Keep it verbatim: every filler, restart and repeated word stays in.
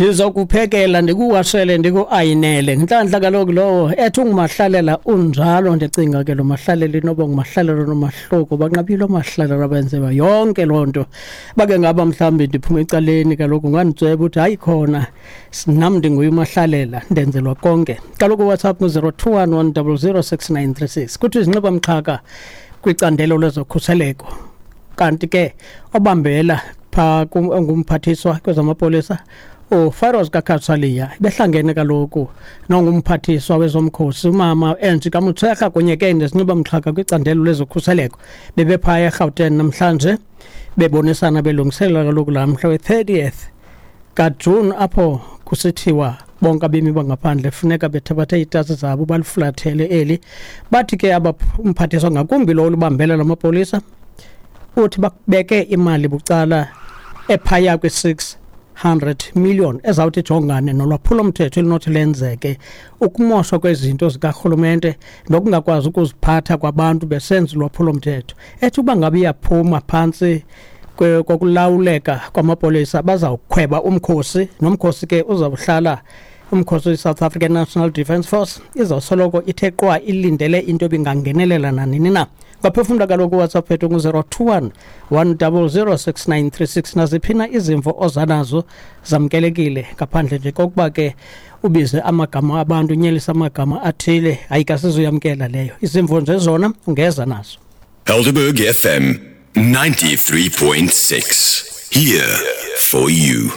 Ndizokuphekela, ndikuwashele, ndikuayinele. Ngenhlanhla kaloku lowo ethi ungumahlalela unjalo. Ndicinga ke lo mahlalela inoba ngumahlalela nomahluko, banqabile omahlalela abenziwa yonke loo nto. Bake ngaba mhlawumbi ndiphuma ecaleni kaloku, unganditsweba uthi hayi khona nam ndinguye umahlalela, ndenzelwa konke. Kaloku WhatsApp ngu-zero two one one double zero six nine three six. Kuthi izinxiba mxhaka kwicandelo lezokhuseleko, kanti ke obambela phaa ongumphathiswa kwezamapolisa uFiroz Cachalia behlangene kaloku nongumphathiswa wezomkhosi umama Angie Motshekga kunye ke nesinxiba mxhaka kwicandelo lezokhuseleko. Bebephaya eGauteng namhlanje bebonisana, belungiselela kaloku laa mhla we-thirtieth kaJuni apho kusithiwa bonke abemi bangaphandle funeka bethabathe iitasi zabo balifulathele eli. Bathi ke umphathiswa, ngakumbi lo olubambela lamapolisa, uthi bakubeke imali bucala ephaya kwi-six hundred million ezawuthi ijongane nolwaphulomthetho elinothi lenzeke, ukumoshwa kwezinto zikarhulumente nokungakwazi ukuziphatha kwabantu besenza ulwaphulomthetho. Ethi uba ngabe iyaphuma phantsi kokulawuleka kwamapolisa, bazawukhweba umkhosi, nomkhosi ke uzawuhlala umkhosi we-South African National Defence Force izawusoloko ithe qwa ilindele into ebingangenelela nanini na. Ngaphefumla kaloku WhatsApp yethu ngu-zero two one one double zero six nine three six. Naziphi na izimvo ozanazo zamkelekile, ngaphandle nje kokuba ke ubize amagama abantu, unyelise amagama athile, hayi kasizuyamkela leyo. Izimvo nje zona ungeza nazo. Helderberg F M ninety-three point six, here for you.